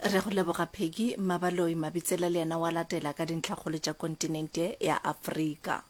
Re go leboga Peggy. Mmabaloi Mabitsela le yena wa latela ka dintlhakgolo tša kontinente ya Afrika.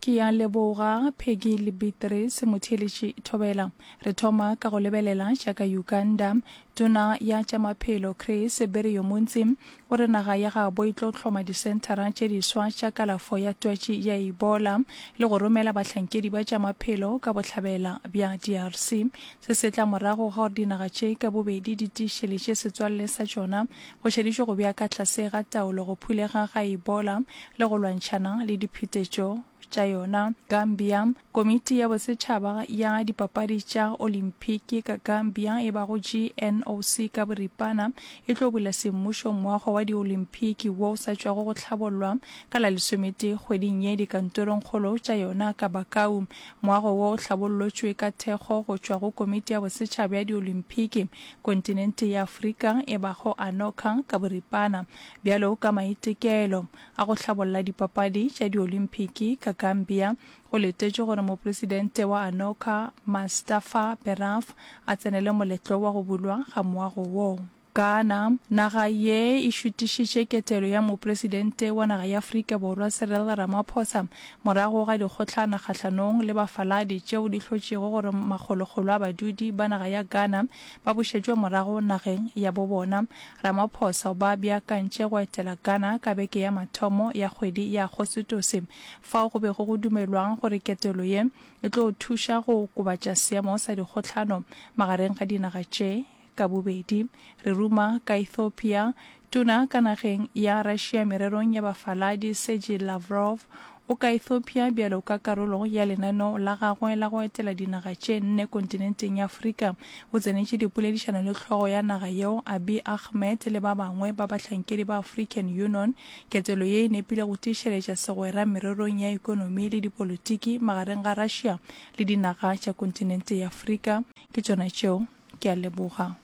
Ke a leboga Peggy le Beatrice motheeletši Thobela. Re thoma ka go lebelela tša ka Uganda. Tona ya tša maphelo Chris Biryomunsi o re naga ya gabo e tlo hloma disenthara tše diswa tša kalafo ya twatši ya Ebola le go romela bahlankedi ba tša maphelo ka bohlabela bja DRC. Se se tla morago ga gore dinaga tše ka bobedi di tiišeletše setswalle sa tšona go šeditšwe go bea ka tlase ga taolo go phulega ga Ebola le go lwantšhana le diphetetšo tša yona. Gambia, Komiti ya Bosetšhaba ya Dipapadi tša Olimphiki ka Gambia e bago GNOC ka boripana, e tlo bula semmušo moago wa Diolimphiki wo o sa tšwago go hlabollwa ka la lesometee kgweding ye dikantorongkgolo tša yona ka Bakau. Moago wo o hlabollotšwe ka thekgo go tšwa go Komiti ya Bosetšhaba ya Diolimphiki kontinente ya Afrika e bago ANOCA ka boripana bjalo ka maitekelo a go hlabolla dipapadi tša Diolimphiki ka Gambia. Go letetšwe gore Mopresidente wa ANOCA Mustafa Beraf a tsenele moletlo wa go bulwa ga moago wo. Ghana, Naga ye e šutišitše ketelo ya Mopresidente wa naga ya Afrika Borwa Cyril Ramaphosa morago ga dikgohlano kgahlanong le bafaladi tšeo di hlotšego gore makgolokgolo a badudi ba naga ya Ghana ba bušetšwe morago nageng ya bo bona. Ramaphosa o ba beakantše go etela Ghana ka beke ya mathomo ya kgwedi ya Agostose fao go bego go dumelwang gore ketelo ye e tlo thuša go okobatša seemo sa dikgohlano magareng ga dinaga tše ka bobedi. Re ruma ka Ethiopia, Tona ka nageng ya Russia mererong ya bafaladi Sergei Lavrov o ka Ethiopia bjalo ka karolo ya lenaneo la gagwe la go etela dinaga tše nne kontinenteng ya Afrika. O tsenetše dipoledišano le hlogo ya naga yeo Abiy Ahmed le ba bangwe ba bahlankedi ba African Union. Ketelo ye e nepile go tiišeletša segwera mererong ya ekonomi le dipolotiki magareng ga Russia le dinaga tša kontinente ya Afrika. Ke tšona tšeo. Ke a leboga.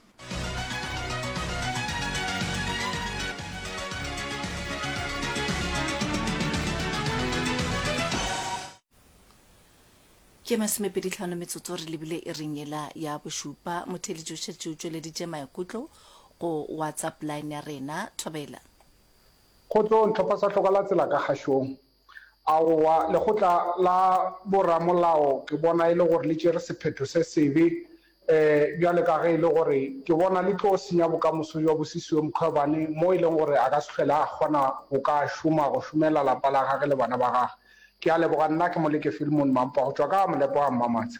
Ke masomepeditlhano metsotso re lebile iring yela ya bošupa. Motheeletši o šetše o tšweleditše maikutlo go WhatsApp line ya rena. Thobela. Kgotsong, tlhopha sa hloka la tsela ka kgašong. Aowa, lekgotla la boramolao ke bona e le gore le tšere sephetho se sebe bjale ka ge e le gore ke bona le tlo senya bokamoso bja Busisiwe Mkhwebane mo e leng gore a ka se hlwele a kgona go ka šoma go šomela lapa la gage le bana ba gage. Ke a leboga nna ke Moleke Philemon Mampa go tšwa ka Molepo ga Mmamatsha.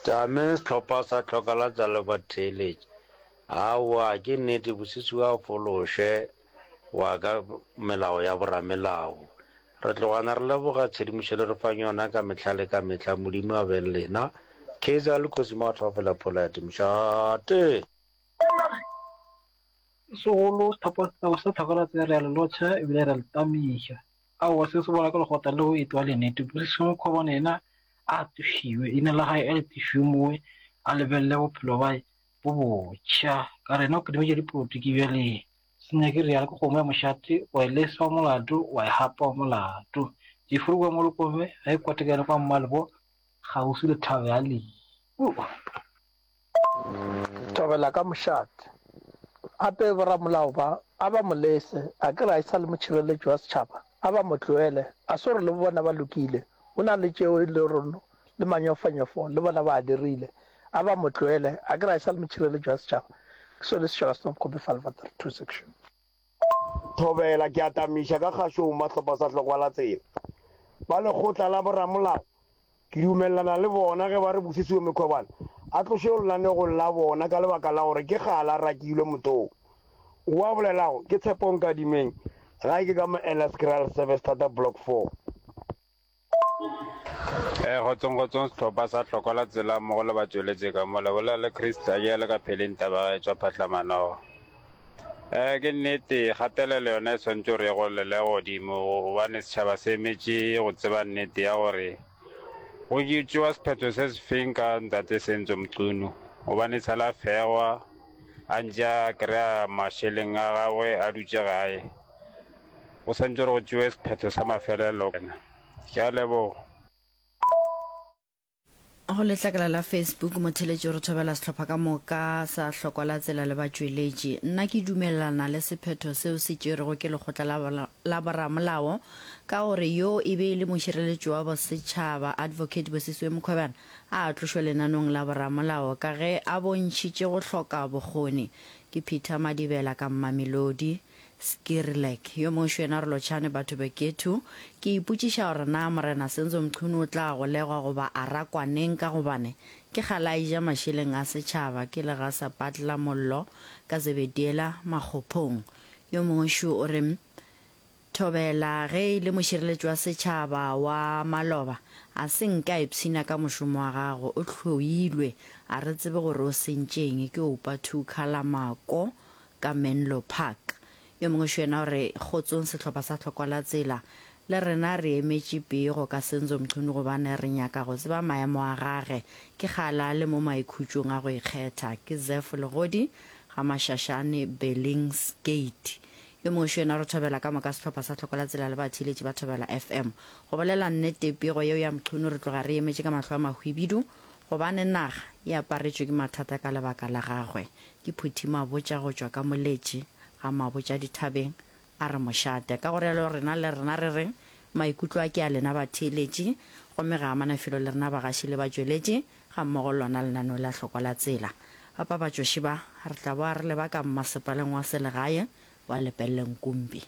Tame sehlopha sa hloka la tsa le batheeletši. Aowa ke nnete Busisiwe a fološe wa ka melao ya boramelao. Re tlogana re leboga tshedimošo le re fang yona ka mehla le ka mehla. Modimo a be le lena. Kaizer le Kgosi Maatla Fela Polite Mošate. Segolo sehlopha sa Tlhokolatse re a le lotšha ebile re a le tamiša. Aowa se se bola ka lekgotla leo e tloga le nnete. Busisiwe Mkhwebane yena a tlošiwe, leina la gae a le tlošiwe mowe a lebelele bophelo bae bo botšha. Ka re yena o kidimetše dipolotiki bjale. Se nyake realo ke kgomo ya mošate, wa e lesa wa molato, wa e gapa wa molato. Jeffery kua Molokome ga e kwatekane kwa Mmalebo kgauswi le thaba ya Lehu. Thobela ka mošate. Gape boramolao ba, a ba mo lese, a ke re a e sa le motšhireletši wa setšhaba, a ba mo tlohele, a se gore le bona ba lokile, go na le tšeo e le gore le manyofonyofo le bona ba a dirile, a ba mo tlohele, a ke re a e sa le motšhireletši wa setšhaba. Ke sone setšhaba se Copy File 32 section. Thobela, ke atamiša ka kgašong mahlopha sa hlokwa la tsela. Ba lekgotla la boramolao Ke dumelelana le bona ge ba re Busisiwe Mkhwebane a tlošwe lenanegong la bona ka lebaka la gore ke kgale a rakilwe mothong. O a bolelago ke Tshepo Nkadimeng, gae ke ka mo Ellerskraal Service Tata Block 4. Eh, kgotsong kgotsong sehlopha sa hloko la tsela mmogo le batšweletše ka mo le bolela le Chris Tlajele ka pheleng taba ga e tšwa phatlamanogo. Eh, ke nnete kgatelelo yona e swanetše gore e golele godimo gobane setšhaba se emetše go tseba nnete ya gore go tšewa sephetho se se feng ka ntate Senzo Mchunu gobane tshela a fegwa a ntše a kry-a mašeleng a gagwe a dutše gae. Go swanetše gore go tšewe sephetho sa mafelelo. Ke a leboga. Go letlakala la Facebook, motheeletši o re thobela sehlopha ka moka sa Hlokwa la Tsela le batšweletši. Nna ke dumelelana le sephetho seo se tšerwego ke lekgotla la la boramolao ka gore yo e be e le mošireletši wa bosetšhaba Advocate Bosisiwe Mkhwebane a tlošwe lenanong la boramolao ka ge a bontšhitše go hloka bokgoni. Ke Peter Madibela ka Mamelodi. Skierlik. Yo mongwe šo yena re lotšhane batho bekethu. Ke ipotšiša gore na Morena Senzo Mchunu o tla golegwa goba a rakwa neng ka gobane ke kgale a eja mašeleng a setšhaba ke legasa patla mollo ka Zebediela Makgophong. Yo mongwe šo o re Thobela ge e le mošireletši wa setšhaba wa maloba a se nke a ipshina ka mošomo wa gagwe o hloilwe a re tsebe gore o sentšeng ke Oupa Thukha la Mako ka Menlo Park. Yo mongwe šo yena o re, Kgotsong sehlopha sa Hlokwa la Tsela. Le rena re emetše pego ka Senzo Mchunu gobane re nyaka go tseba maemo a gage. Ke kgale a le mo maikhutšong a go ikgetha. Ke Zeph Legodi, ga Mashashane, Billingsgate. Yo mongwe šo yena o re thobela ka moka sehlopha sa Hlokwa la Tsela le batheeletši ba Thobela FM. Go bolela nnete, pego yeo ya Mchunu re tloga re emetše ka mahlo a mahwibidu gobane naga e aparetšwe ke mathata ka lebaka la gagwe. Ke Phuthi Mabotja go tšwa ka Moletši ga Mabotja dithabeng, a re mošate. Ka go realo rena le rena re reng? Maikutlo a ke a lena batheeletši, gomme ga amana felo le rena bagaši le batšweletši gammogo le lona lenaneo la Hlokwa la Tsela. Bapapatšoši ba, re tla boa re leba ka mmasepaleng wa selegae wa Lepelle Nkumpi.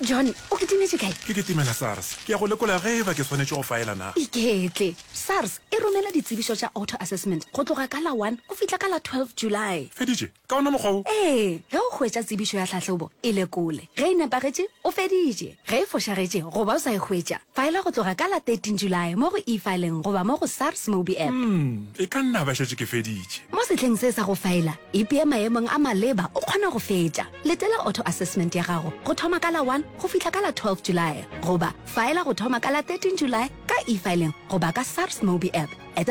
John, o kitimetše kae? Ke kitimela SARS. Ke ya go lekola ge e ba ke swanetše go faela na. Iketle. SARS e romela ditsebišo tša auto-assessment go tloga ka la 1 go fihla ka la 12 July. Feditše? Ka ona mokgwa wo? Ee. Ge o hwetša tsebišo ya tlhahlobo, e lekole. Ge e nepagetše, o feditše. Ge e fošagetše goba o sa e hwetša, faela go tloga ka la 13 July mo go eFiling goba mo go SARS MobiApp. Umm, e ka nna ba šetše ke feditše. Mo sehleng se sa go faela, ipee maemong a maleba o kgone go fetša. Letela auto-assessment ya gago go thoma ka la 1 go fihla ka la 12 July goba faela go thoma ka la 13 July ka eFiling goba ka SARS MobiApp. Etela.